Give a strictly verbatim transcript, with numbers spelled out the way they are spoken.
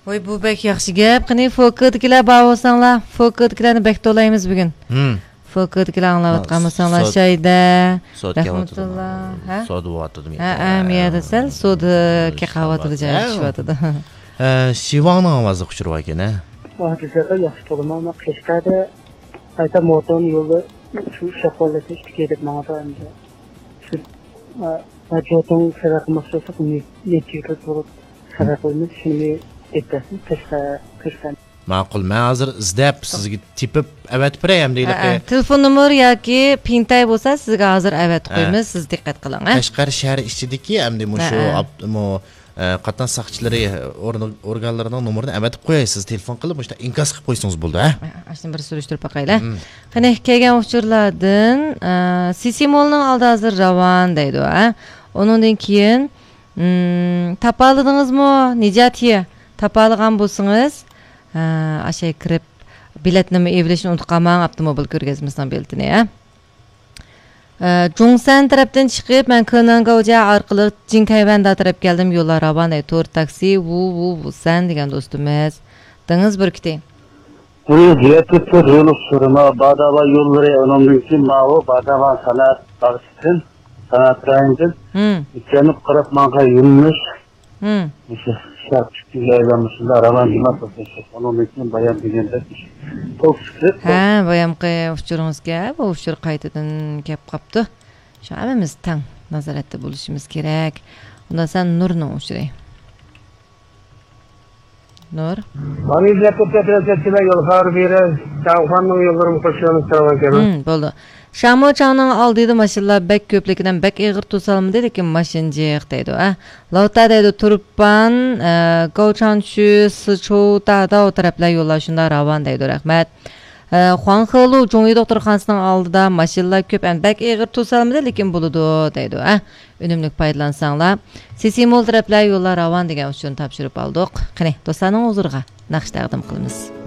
ۋاي، بۇ بەك ياخشى گەپ. قېنى، فوكىدىكىلەر بار بولساڭلار، فوكىدىكىلەرنى بەك تولايمىز بۈگۈن. ھىم. فوكىدىكىلەر ئاڭلاۋاتقان بولساڭلار، سوت-، شايدە، سوت رەھمەتۇللا، ھە؟ سودا بولۇۋاتىدۇ. ھە، ھە، مۇ يەردە سەل سودا كېقىۋاتىدۇ، جاي چۈشۈۋاتىدۇ. ھە، شىۋاڭنىڭ ئاۋازلىق ئۇچۇرى بار ئىكەن، ھە؟ ۋاھ، جىزاغا ياخشى تولىما، ئەمما قەشقەردە قايتا موتورنى يولدا شۇ شاپاللىتىش تىكەي دەپ ماڭىدۇ ئەمدى. شۇ، ئە، ئە، جوتۇڭ سەۋەب قىلماقچى بولساق، نى-، نېچە يىل بولۇپ سەۋەب قىلىمىز، شۇنى ئېيتىپ بەرسىڭىز، قەشقەر، قەشقەر. ماقۇل، مەن ھازىر ئىزدەپ، سىزگە تېپىپ ئەۋەتىپ بېرەي، ئەمدى ھە، ھېلىقى ھە. تېلېفون نومۇر ياكى پىنتەي بولسا، سىزگە ھازىر ئەۋەتىپ ھە. قويىمىز، سىز دىققەت قىلىڭ، ھە. قەشقەر شەھىرى ئىچىدىكى، ئەمدى مۇشۇ ھە، ھە. ئاپ-، مۇ-، ئە، قاتناش ساقچىلىرى ئورنى-، ئورگانلىرىنىڭ نومۇرىنى ئەۋەتىپ قوياي، سىز تېلېفون قىلىپ، مۇشۇنداق ئىنكاس قىلىپ قويسىڭىز بولىدۇ، ھە؟ ئاشۇنى بىر سۈرۈشتۈرۈپ باقايلى. مم. قېنى، كەلگەن ئۇچۇرلاردىن، ئە، سىسى مولنىڭ ئالدى ھازىر راۋان دەيدۇ، ھە؟ ئۇنىڭدىن كېيىن، مم، تاپالىدىڭىزمۇ، نىجاتى؟ تاپالىغان بولسىڭىز، ئە، ئاشۇ كىرىپ، بېلەتنىمۇ ئېلىۋېلىشنى ئۇنتۇپ قالماڭ، ئاپتوموبىل كۆرگەزمىسىنىڭ بېلىتىنى، ھە؟ ئە، جۇڭسەن تەرەپتىن چىقىپ، مەن كېنەنگاۋجيا ئارقىلىق جىڭكەيۋەندە تەرەپ كەلدىم، يوللار راۋان، ئەي، تور تاكسى، ۋۇ، ۋۇ، ۋۇسەن دېگەن دوستىمىز. دېڭىز بۈركۈتى. بۇ يەتتە تۆت يول ئۇچۇرىما، باداۋا يوللىرى، ئۇنىڭدىن كېيىن ماۋۇ باداۋا سانائەت باغچىسىدىن، سانائەت رايونىدىن ھىم. يۈكلىنىپ قاراپ ماڭغان يۆنىلىش. ھىم. مۇشۇ شەرقتىكى ئايلانمىسىدا راۋان جۇما توختىشىپ، ئۇنىڭدىن كېيىن بايام دېگەندەك توك سۈكۈت. ھە، بايامقى ئۇچۇرىڭىزگە بۇ ئۇچۇر قايتىدىن كەپ قاپتۇ. شۇ ھەممىمىز تەڭ نازارەتتە بولۇشىمىز كېرەك. ئۇندا سەن نۇرنىڭ ئۇچۇرى. نۇر. مانا يۈزلەپ كەتكەن تەرەپتىكىلەر يول خەۋىرى بېرىش، شاڭخۇەننىڭ يوللىرىمۇ قوشۇلۇپ تۇرغان كەبى. ھىم، بولدى. شامۇچاڭنىڭ ئالدىدا ماشىنىلار بەك كۆپ، لېكىن بەك ئېغىر توسالمىدى، لېكىن ماشىنا جىق دەيدۇ، ئە. لاۋتا دەيدۇ، تۇرپان، ئە، گاۋچاڭچۈ، سىچۇتا، داۋ تەرەپلەر يوللار شۇنداق راۋان دەيدۇ، رەھمەت. ئە، خۇاڭخېلۇ جۇڭيى دوختۇرخانىسىنىڭ ئالدىدا ماشىنىلار كۆپ، ئەمدى بەك ئېغىر توسالمىدى، لېكىن بولىدۇ دەيدۇ، ئە. ئۈنۈملۈك پايدىلانساڭلار. سىسىمول تەرەپلەر يوللار راۋان دېگەن ئۇچۇرنى تاپشۇرۇپ ئالدۇق. قېنى، دوستلارنىڭ ھۇزۇرىغا ناخشا تەقدىم قىلىمىز.